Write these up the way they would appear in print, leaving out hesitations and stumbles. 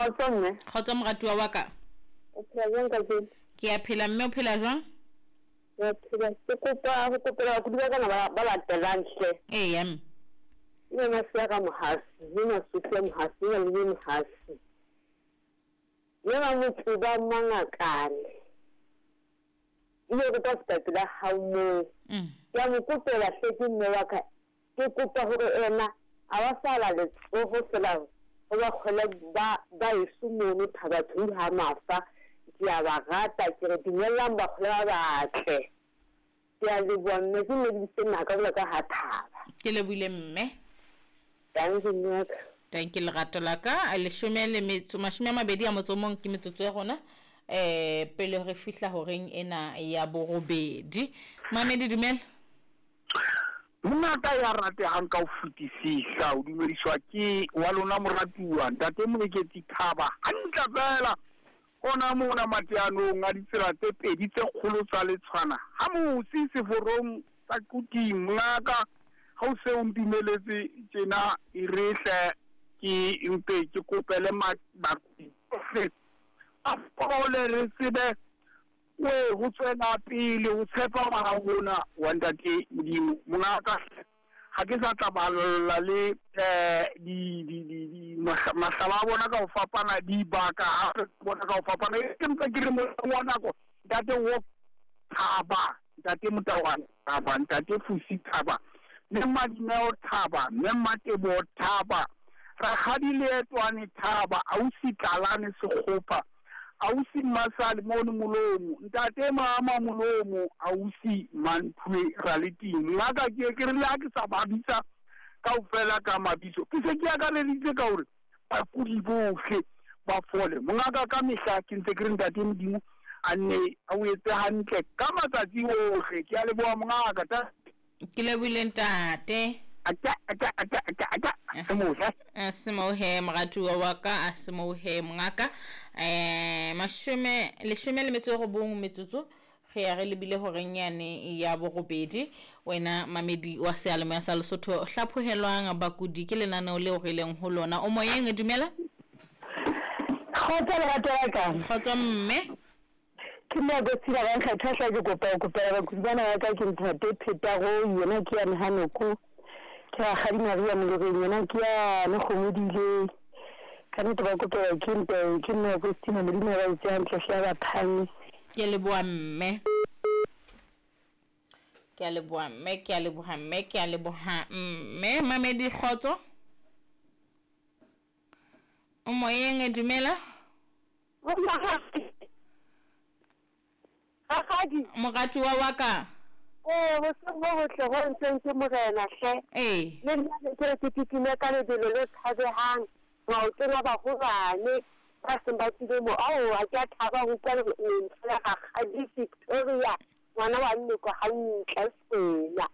Kgotso mme. Kgotso moratuwa wa ka. O phela jwang kajeno? Ke a phela mme, o phela jwang? Ke a phela. Ke kopa ho kopela bakudi ba kana ba latelang hle. Eya mme. Mme Masia ka Mohasi, mme Masupi Mohasi, mme Malome Mohasi. Mme Mamotsuba Mangakane. Ile kopa feta pela hao moo. Ke a mo kopela hle ke mme wa ka. Ke kopa hore ena a ba sala letsoho fela ho ba kgwele ba eso mono Thabatshweu ha Mafa. Ke a ba rata, ke re dumellang bakgwele ba batle. Ke a leboha mme, ke nnedisitse naka jwalo ka ha thaba. Ke lebohile mme. Dankie mme wa ka. Dankie lerato la ka. Leshome le metso mashome a mabedi a motso o mong ke metsotso ya rona eh pele re fihla horeng ena ya borobedi. Mamedi dumela. Mongaka ya ratehang ka ho fetisisa, o dumediswa ke wa lona moratuwa, Ntate Moeketsi Thaba, hantle feela hona mona mateanong a ditsela tse pedi tse kgolo tsa Letshwana ha mosi seforong sa Quthing. Mongaka, ha o se o ntumeletse tjena, e re hle ke mpe ke kopele bakudi bohle ba fole re tsebe we ho tswela pele ho tshepa ngwana rona wa Ntate Modimo. Mongaka, ha ke sa tla balla le mahlaba a bona ka ho fapana, dibaka hape bona ka ho fapana. Ke mpa ke re molang wa nako, Ntate wo Thaba, Ntate Motawana Thaba, Ntate Fusi Thaba, Mme Madineo Thaba, Mme Matebo Thaba, Rakgadi Leetwane Thaba, Ausi Tlalane Sekgopa, Ausi Mmasale mono Molomo, Ntate Mama Molomo, Ausi Manthue Raleting. Mongaka ke ke re le ha ke sa ba bitsa kaofela ka mabitso, ke se ke akareditse ka hore bakudi bohle ba fole. Mongaka, ka mehla ke ntse ke re Ntate Modimo a nne a o etse hantle ka matsatsi ohle. Ke a leboha mongaka. Ke lebohile ntate. Aka aka aka aka aka se mohe. A se mohe moratuwa wa ka, a se mohe mongaka. Mashome leshome le metso e robong metsotso re ya re lebile horeng yane ya borobedi. Wena mamedi wa seyalemoya sa Lesotho, hlaphohelwang bakudi ke lenaneo leo re leng ho lona. O moyeng, dumela. Kgotso lerato la ka. Kgotso mme. Ke mme Agostina ba nkgetha hle ke kopa ho kopela bakudi bana ba ka ke Ntate Phetaroi yena ke yane Hanoko, ke Rakgadi Maria Moloreng yena ke yane Kgomodile. Ka nnete ba kopelwa ke nte ke mme Agostina, Modimo a ba etse hantle hle a ba phahamise. Ke leboha mme. Ke a leboha mme, ke a leboha mme, ke a leboha mme. Mamedi kgotso. O moyeng, dumela. Rakgadi. Moratuwa wa ka. Ee, boseng bo botle bo ntseng ke morena hle. Ee. Le nna ne ke re ke kitime ka lebelo le tshabehang maotong a baholwane ba seng ba tswile mo. Ao, ha ke a thaba ho utlwa lentswe la Rakgadi Victoria, ngwana wa Nnoko hantle Sekwena.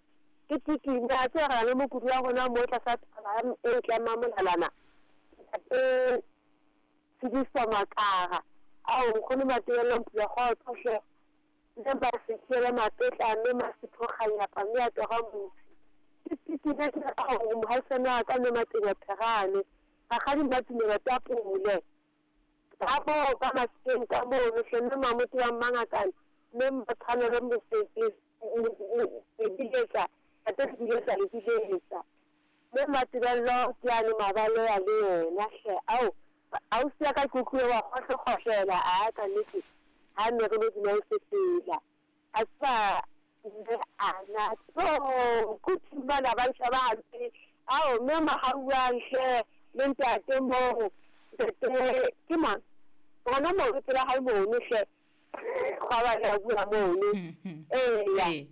Ke kitime, a tseba re na le mokudi wa rona mo tlasa thaba e ntle ya Mamolalana. Ntate Tshediso Makara. Ao, nkgono Matebello Mpula kgotso hle. Mme Masekhele Mapetla, mme Masepho Kganyapa, mme a tora mosi. Ke kitime ke re ao, mohaisane wa ka mme Matenya Pherane. Rakgadi Mmatumelo Tapole. Ka moo ka Masekeng ka mono hle, mme Mamoto wa Mmangakane, mme Mmatshwanelo Mosetse, Lebiletsa, Ntate Lebiletsa, Lebiletsa. Mme Matebello ke yane Mabaleya le yena hle. Ao, ausi ya ka ke utlwile wa kgohlekgohlela, a ka nnete ha ne re lo dula o sefela. A tseba mme ana tso kuthi bana ba nsheba hampe. Ao, mme Mahauang hle le ntate moo, ntate ke mang? Hona moo pela hae mono hle. Gwa ba le a bua mono. Eya.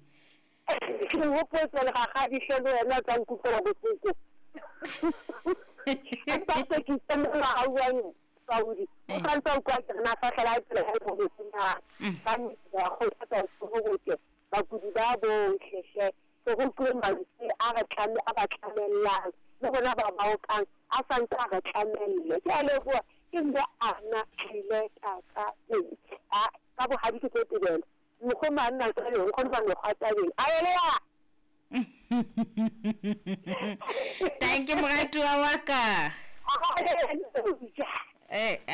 Ke hopotse le rakgadi hle le wena o tla nkutlwela bohloko. Empa se ke itse mme Mahauang Saudi. O santse a utlwa ke re na fahlela hae pele hae mo na. Ka nnete ba kgothatsa ho botle bakudi ba bohle hle. Se re utlwile mantswe a re tlame a ba tlamellang le rona ba baokang a santse a re tlamelle. Ke a leboha ke mme ana tlile tata a ka bohadi ke tlo tebela. Mokgoma a nna tabeng, nkgono ba mekgwa tabeng. A elea. Thank you moratuwa wa ka. Eh.